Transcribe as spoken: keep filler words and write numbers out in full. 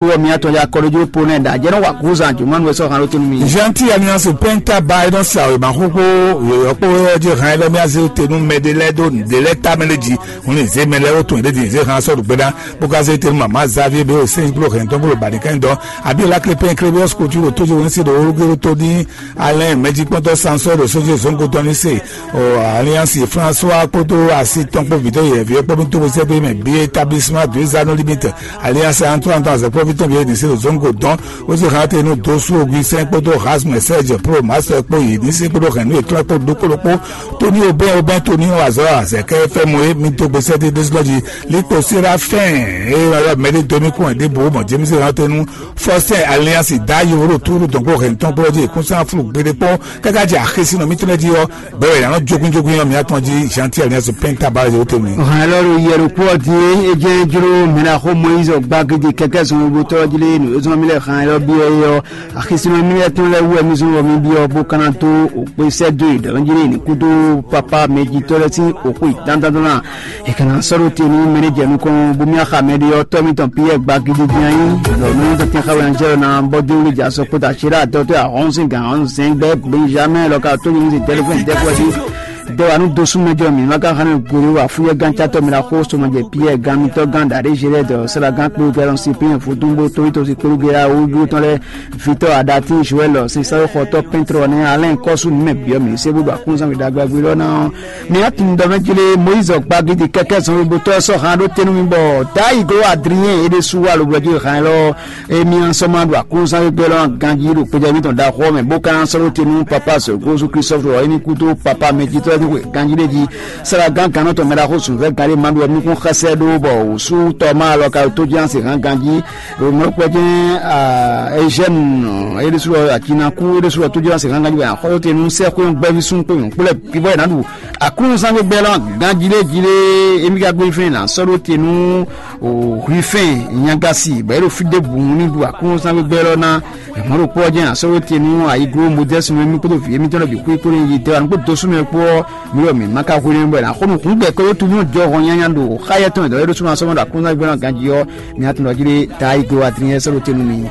Wɔ mía tɔn ya kɔɖójú po nɛ ɖa jɛ nɔ wa gúzan jùmɔnu wɛ sɔ han ló tenu mi. Gentil Alliance Penta ba e nɔ sa wěma xóxó yɔ̌yɔ́ kpó yɔ́ jí han e lɔ mía zé te nú mɛ ɖé lɛ́ɛ ɖó nǔɖé lɛ́ɛ tamɛ lé jí. Hun lè zé mɛ lɛ́ɛ wó tun yě ɖé din zé han sɔ́ ɖo gbéɖá bó ka zé te nú mama Xavier bɛ o sɛn kpló hɛn tɔn kpló ba nìkan dɔn. Abi la klé pɛn klé bɛ ɔsikotú ɖo tójú wɛn se ɖo wórógé ɖó tó ní alɛn mɛjikpɔ́ntɔ́ sansɔ́ ɖo sójú zɔ́ngo tɔn ní se. Alliance François kpódó asi tɔn kpó vǐtɔ́ yɛ̌ví ɔ́ kpó mì tó bó sɛ́ dó mɛ bí établissement deux anneaux limite. Alliance Antoine tɔn azɔ̌kpɔ́ví tɔn bí édisí ɖo zɔ́ngo dɔn. Ó sì hán te nú dósú Augustin kpódó Rasmus Serge Pro Master kpó yě ní sí kpódó hɛ̌nnu yětɔn kpó ɖokpó ɖokpó. Tony Aubin Aubin Tony azɔ̌ azɛ̌kɛ fɛ́ mo é mi dó gbe sɛ́dé ɖésúnɔ jí. Likpo Sérafin e ylɔ́ mɛɖé dó mì kún ɛ ɖěbǔ mɔ James hán te nú Faustin Alliance dá yovóɖo túrú dɔn kpó hɛ̌nnu tɔn kpó jí kún sán flú gbeɖé kpó káká jɛ axésínɔ mítɔn lɛ́ɛ jí ɔ́. Bɛ́ wɛ yě nɔ jógúnjógún ɔ́ mǐ atɔn jí Jean-Pierre Niasse Penta ba yě tɛnmɛ. Hàn lɔ ɖo yɛ ɖokpó ɔ́ din é jẹ́ jló mɛ ná xó Moyiz gba gidi kɛkɛ zɔn bo tɔ́ jí lé nǔ e zɔn mì lɛ hàn lɔ byɔ́ é ɔ́. Axisínɔ mì lɛ tɔn lɛ wú wɛ mì zɔn wɔ mì byɔ́ bó ka ná dó òkpe sɛ́ dó e dɔ̌n jí lé ní kúdó papá mɛjitɔ́ lɛ́ɛ sín òkú ìtántántán ná. È ka ná sɔ́ ɖó te nú mɛ ní jɛ nukɔn bó mì axa mɛ ɖé ɔ́ tɔ́ mítɔn Piyɛ́ɛ gba gidi din ayí. Lɔ nú tɔtɛn xá wɛ anjɛ́lɔ ná bɔ́ dó wlí jà sɔ́ kpódó àṣírá àtɔ́tɔ́ ahɔ́nsín gǎn ɔ́ zɛ́n gbɛ́ Benjamɛ́ɛ lɔ ka tó nyi ní se tɛ́lifɛ́n dɛ́kúwɛ́ jí. Dɛwanu dosúmɛjɔ mǐ ma ka xánú gbolo afúyɛ́gán catɔ́ mɛ ɖaxó somɔjɛ Piyɛ́ɛ gán mitɔ́ gán ɖaɖé Zhelɛ́dɔ sɛ́lagán kpó Galɔn Sipin Vodúngbó Tolítosi kpódó Gera wújúwú tɔn lɛ́ɛ vitɔ́ aɖatín Joɛ́lɔ sɛnsɛ́nxɔtɔ́ pɛ́ntrɔ nɛ́ Alɛ́n kɔ́sú nú mɛ byɔ́ mǐ sé bó ɖo akúnzán we ɖagbe agbélɔ́ ná ɔ́. Mǐ wá tunwun ɖɔ mɛ jí lé Moyízi gbagidi kɛ́kɛ́ zɔnlin bó tɔ́ sɔ́ han ɖó te nú mì bɔ Dayi gló Adriɛn é ɖésú wá lobɔ jí han élɔ́. Emi ɔ́ sɔ́ ma ɖo aklúnɔzán gbígbɛ́ lɔ́ ganjí ɖo kpejɔ́mítɔn ɖaxó ɔ́ mɛ, bó ka ná sɔ́ ɖó te nú Papa Zɔ̌gózú Klísɔ́flu ɔ́, é ní kú dó Papa mɛjitɔ́ lɛ́ɛ ní xwe ganjí ɖé jí. Sɛ́lagán gannɔtɔ́ mɛɖaxó zunvɛ́ gán ɖé ma ɖó ɔ́, nukún xɛsɛ ɖó bɔ wǔsú tɔ́ ma lɔ ka ɖo tójínásě hán ganjí. Ɖo mɔ̌kpɛ́ jɛ́n Ezɛ́nu é ɖésú ɔ́, acinakú é ɖésú ɔ́, tójínásě hán ganjí bɔ è nǎ xɔ ɖó te nú sɛ́xwé gbɛ́ví súnnu kpó nyɔ̌nu kpó lɛ́ɛ bǐ bɔ è nǎ ɖu aklúnɔzán gbígbɛ́ lɔ́ ganjí ɖé jí lé. Émí ka gbé fɛ́n ná sɔ́ ɖó te nú o hwifɛ́n nyagasi bɔ é ɖo fí ɖěbǔ ní ɖu aklúnɔzán gbígbɛ́ lɔ́ ná. Mɔ̌ ɖokpó ɔ́ jɛ́n asɔ́ te nú ayiglo Modɛ́sinu émí kpódó vǐ émítɔn lɛ́ɛ bǐ xwé kpódó nyi tɛ́ wá nukpó dosúnɔ kpó ɔ́, mi wɔ mǐ ma ka hwenu bɔ è nǎ xo nukún gbɛ kpódó tunú jɔhɔn nyanya ɖo xá yɛ́ tɔn e dɔ̌ é ɖó súnɔ asɔ́ ma ɖo aklúnɔzán gbígbɛ́ lɔ́ ganjí ɔ́. Mi atún ɖɔ jí ɖé ta ayiglo Adriɛn sɔ́ ɖó te nú mi.